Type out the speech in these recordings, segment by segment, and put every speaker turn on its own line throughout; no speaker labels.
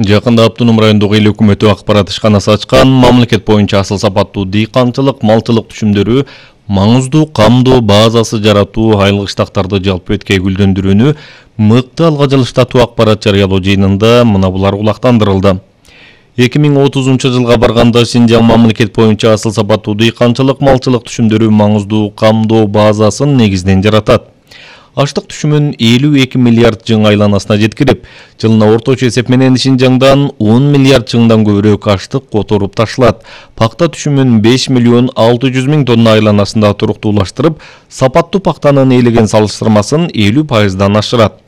Жакында Автоном райондук эл өкмөтү акпарат ишканасы ачкан мамлекет боюнча асыл сапаттуу дыйканчылык, малчылык түшүмдөрү маңыздуу камдоо базасы жаратуу, айлык иштактарды жалпы өткөй гүлдөндүрүүнү мыкты алга жылыштатуу акпарат жарыялоо жыйынында мына булар улактандырылды. 2030 жылга барганда Синжаң мамлекет боюнча асыл сапаттуу дыйканчылык, малчылык түшүмдөрү маңыздуу камдоо базасын негизден жаратат. Аштык түшүмүн 52 миллиард жың айланасына жеткирип, жылына орточо эсеп менен Синжаңдан 10 миллиард жыңдан көбүрөөк аштык которуп ташылат. Пакта түшүмүн 5 миллион 600 миң тонна айланасында туруктуулаштырып, сапаттуу пактанын ээлеген салыштырмасын 50% ашырат.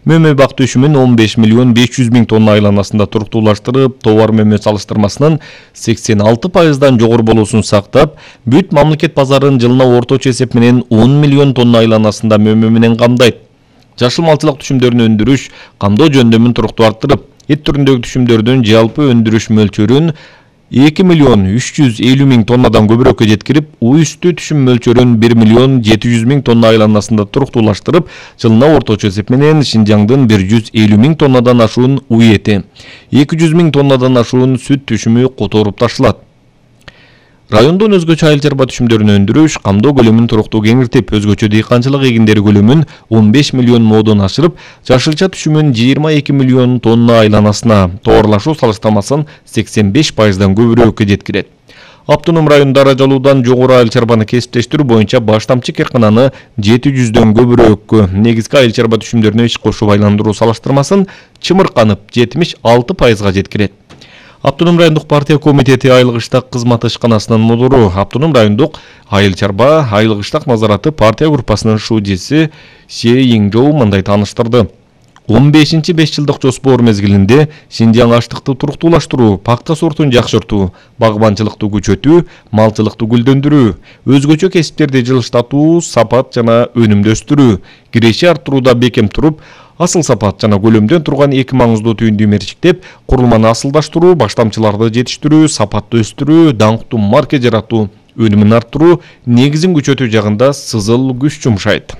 Мөмө бак түшүмүн 15 миллион 500 миң тонна айланасында туруктуулаштырып, товар мөмө салыштырмасынын 86% жогору болуусун сактап, бүт мамлекет базарын жылына орточо эсеп менен 10 миллион тонна айланасында мөмө менен камдайт. Жашыл малчылык түшүмдөрүн өндүрүш, камдоо жөндөмүн туруктуу арттырып, эт түрүндөгү түшүмдөрдүн жалпы өндүрүш мөлчөрүн 2 миллион 350 миң тоннадан көбүрөөккө жеткирип, үй үстү түшүм мөлчөрүн 1 миллион 700 миң тонна айланасында туруктуулаштырып, жылына орточо эсеп менен Синжаңдын 150 миң тоннадан ашуун үй эти, 200 миң тоннадан ашуун сүт түшүмү которуп ташылат. Райондон өзгөчө айыл чарба түшүмдөрүн өндүрүш, камдоо көлөмүн туруктуу кеңиртип, өзгөчө дыйканчылык эгиндери көлөмүн 15 миллион модон ашырып, жашылча түшүмүн 22 миллион тонна айланасына, товарлашуу салыштырмасын 85%дан көбүрөөккө жеткирет. Автоном районунда аражалуудан жогору айыл чарбаны кесиптештирүү боюнча баштамчы кыркананы 700дөн көбүрөөккө, негизги айыл чарба түшүмдөрүнө иш кошуп айландыруу салыштырмасын чымырканып 76%га жеткирет. Автоном райондук партия комитети айлык иштак кызматы ишканасынын мудуру, Автоном райондук айыл чарба айлык иштак назараты партия группасынын шудеси Се Йиңжоу мындай тааныштырды. 15-5 жылдык жоспор мезгилинде Синжаң аштыкты туруктуулаштыруу, пакта сортун жакшыртуу, багбанчылыкты күчөтүү, малчылыкты гүлдөндүрүү, өзгөчө кесиптерди жылыштатуу, сапат жана өнүмдү өстүрүү, киреши арттырууда бекем туруп, асыл сапат жана көлөмдөн турган эки маңыздуу түйүндү мерчиктеп, курулманы асылдаштыруу, баштамчыларды жетиштирүү, сапатты өстүрүү, даңктуу марка жаратуу, өнүмүн арттыруу, негизин күчөтүү жагында сызыл күч жумшайт.